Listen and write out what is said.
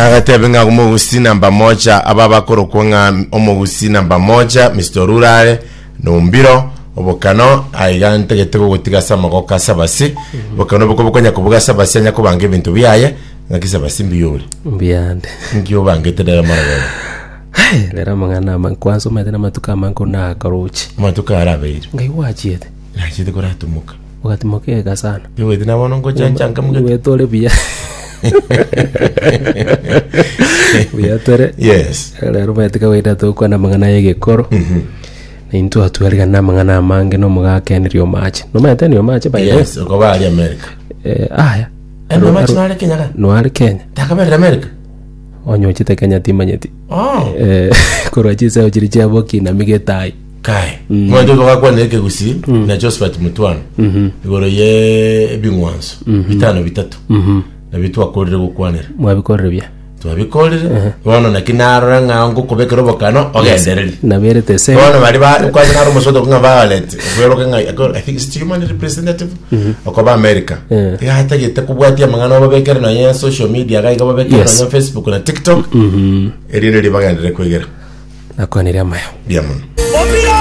Nagatebe ng'a omogusi namba moja aba bakorokwa ng'a omogusi namba moja Mr. Orurare Nombiro obokano aiga ntagete gogotiga ase amagoko ase abasi obokano oboko bokonya kobuga ase abasi anya kobanga ebinto biaye ng'aki ase abasi mbuya ore Mbuyande. nki obangete rero marogoba Hey, rero amang'ana ama kwanza omanyete namatuko amange onakaroche. amatuko arabeire Ngai gwachiete. nachete koratomoka Ogatimoka ega sana. Nigoete na bono ngochanchanka mugete. Nigoete ore buya. Buya tore. Yes. Rero omanyete kawaida togokwana amang'ana ya egekoro. Na intwe atwarigana na amang'ana amange na omogaka Henry Omache. Nomanyete Henry Omache by the way? Yes, okoba ari America. Eh, aya. Henry Omache nare Kenya ga? Noare Kenya. Takaberire America. Onye ochete Kenya timanyeti. Oh. Eh, korwa chiseo chiria chia bokinami getai. Kai. Mwanto togakwanera ekegusii na Josephat Mutwano igoro ye ebing'wanso bitano bitato nabio twakorire gokwanera Mwabikorire buya. twabikorire bono naki narora ng'a ngokobekera obokano ogendererie Naberete ese. bono bari ba kwanza naro omosoto ng'a Violet okweroka ng'a I think it's human representative okoba America Eh. iga atagete kobwatia amang'ana obabekere nonye social media iga iga babekere Yes. nonye Facebook na TikTok erinde ribagenderere kwegera Nakwanire amaya. mbuya mono.